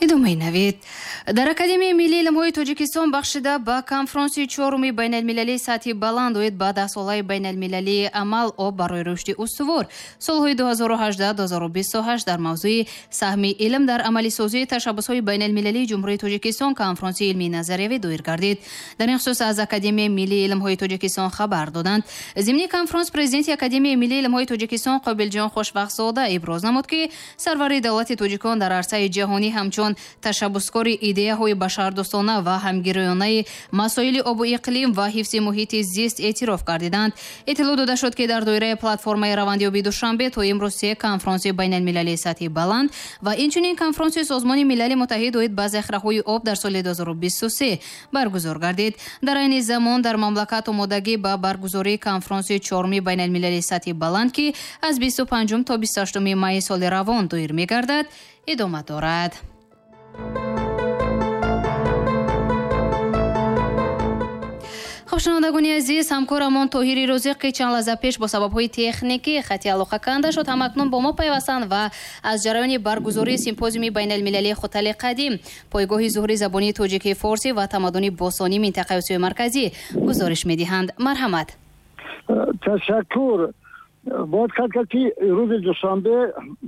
Идомаи навид. Дар Академияи миллии илмҳои Тоҷикистон бахшида ба конфронси чоруми байналмилалии сатҳи баланд оид ба даҳсолаи байналмилалии амал «Об барои рушди устувор» солҳои 2018-2028 дар мавзӯи саҳми илм дар амалисозии ташаббусҳои байналмилалии Ҷумҳурии Тоҷикистон конфронси илмии назариявӣ доир гардид. Дар ин хусус аз Академияи миллии илмҳои Тоҷикистон хабар доданд. Зимни конфронс президенти Академияи миллии илмҳои Тоҷикистон Қобилҷон Хушбахтзода иброз намуд, ки сарвари давлати тоҷикон дар арсаи ҷаҳонӣ ҳамчун ташаббускори идеяҳои башардӯстона ва ҳамгироёнаи масоили обу иқлим ва ҳифзи муҳити зист эътироф гардиданд. Иттилоъ дода шуд, ки дар доираи платформаи равандёби Душанбе то имрӯз се конфронси байналмилалии сатҳи баланд ва инчунин конфронси Созмони Милали Муттаҳид оид ба захираҳои об дар соли 2023 баргузор гардид. Дар айни замон дар мамлакат омодагӣ ба баргузории конфронси чоруми байналмилалии сатҳи баланд, ки аз 25 то 28 майи соли равон доир мегардад, идома дорад. Хуб, шунавандагони азиз, ҳамкорамон Тоҳири Розиқ, ки чанд лаҳза пеш бо сабабҳои техникӣ хати алоқа канда шуд, ҳамакнун бо мо пайвастанд ва аз ҷараёни баргузории симпозиуми байналмилалии Хутали қадим, пойгоҳи зуҳури забони тоҷикии форсӣ ва тамаддуни бостонии минтақаи Осиёи Марказӣ гузориш медиҳанд. Марҳамат. Ташаккур. Бояд қайд кард, ки рӯзи душанбе,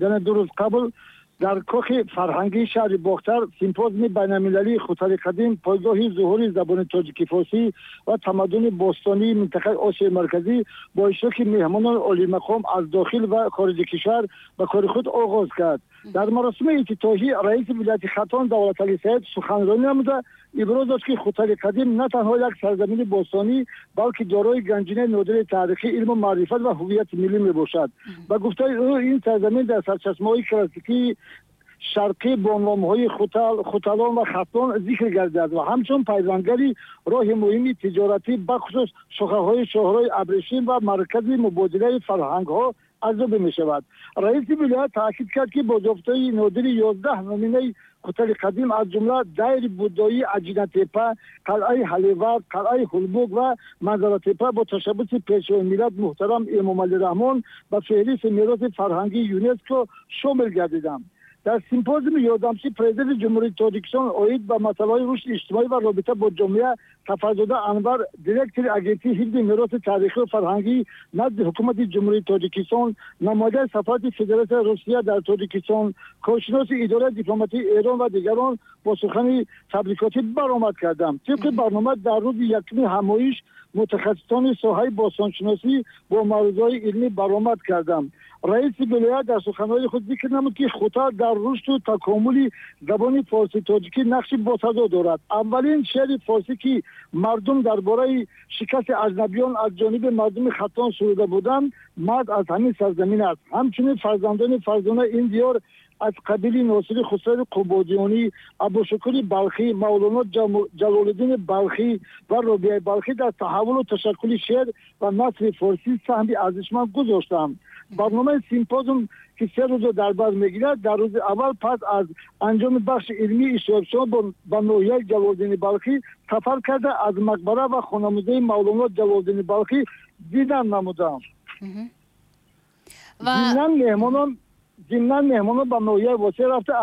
яъне 2 рӯз қабл, дар кохи фарҳангии шаҳри Бохтар симпозиуми байналмилалии Хутали қадим, пойгоҳи зуҳури забони тоҷики форсӣ ва тамаддуни бостонии минтақаи Осиёи Марказӣ бо иштироки меҳмонони олимақом аз дохил ва хориҷи кишвар ба кори худ оғоз кард. Дар маросими ифтитоҳӣ раиси вилояти Хатлон Давлаталӣ Саид суханронӣ намуда иброз дошт, ки Хутали қадим на танҳо як сарзамини бостонӣ, балки дорои ганҷинаи нодири таърихӣ, илму маърифат ва ҳуввияти миллӣ мебошад. Ба гуфтаи ӯ, ин сарзамин дар сарчашмаҳои классикии шарқӣ бо номҳои Хутал, Хуталон ва Хатлон зикр гардидааст ва ҳамчун пайвангари роҳи муҳими тиҷоратӣ, бахусус шохаҳои шоҳрои абрешим ва маркази мубодилаи фарҳангҳо арзёбӣ мешавад. Раиси вилоят таъкид кард, ки бозёфтҳои нодири 11 номинаи Хутали қадим, аз ҷумла дайри буддоии Аҷинатепа, қалъаи Ҳаливард, қалъаи Ҳулбук ва Манзаратепа бо ташаббуси Пешвои миллат муҳтарам Эмомалӣ Раҳмон ба феҳристи мероси фарҳангии ЮНЕСКО шомил гардиданд. Дар симпозиуми ёрдамчии президенти Ҷумҳурии Тоҷикистон оид ба масъалаҳои рушди иҷтимоӣ ва робита бо ҷомеа Сафарзода Анвар, директори Агентии ҳифзи мероси таърихию фарҳангӣ назди Ҳукумати Ҷумҳурии Тоҷикистон, намояндаи сафорати Федератсияи Русия дар Тоҷикистон, коршиноси идораи дипломатии Эрон ва дигарон бо сухани табрикотӣ баромад карданд. Тибқи барнома, дар рӯзи якуми ҳамоиш мутахассисони соҳаи бостоншиносӣ бо маърузаҳои илмӣ баромад карданд. Раиси вилоят дар суханҳои худ зикр намуд, ки Хутал дар рушду такомули забони форсӣ-тоҷикӣ нақши босазо дорад. Аввалин шеъри форсӣ, ки мардум дар бораи шикасти аҷнабиён аз ҷониби мардуми Хатлон суруда буданд, мард аз ҳамин сарзамин аст. Ҳамчунин фарзандони фарзонаи ин диёр аз қабили Носири Хусрави Қубодиёнӣ, Абушукури Балхӣ, Мавлоно Ҷалолиддини Балхӣ ва Робиаи Балхӣ дар таҳаввулу ташаккули шеър ва насри форсӣ саҳми арзишманд гузоштанд. Барномаи симпозиум, ки 3 рӯзро дар бар мегирад, дар рӯзи аввал пас аз анҷоми бахши илмии иштирокчиён ба ноҳияи Ҷалолиддини Балхӣ сафар карда, аз мақбара ва хонамузеи Мавлоно Ҷалолиддини Балхӣ дидан намуданд. Зимнан меҳмонон ба ноҳияи Восеъ рафта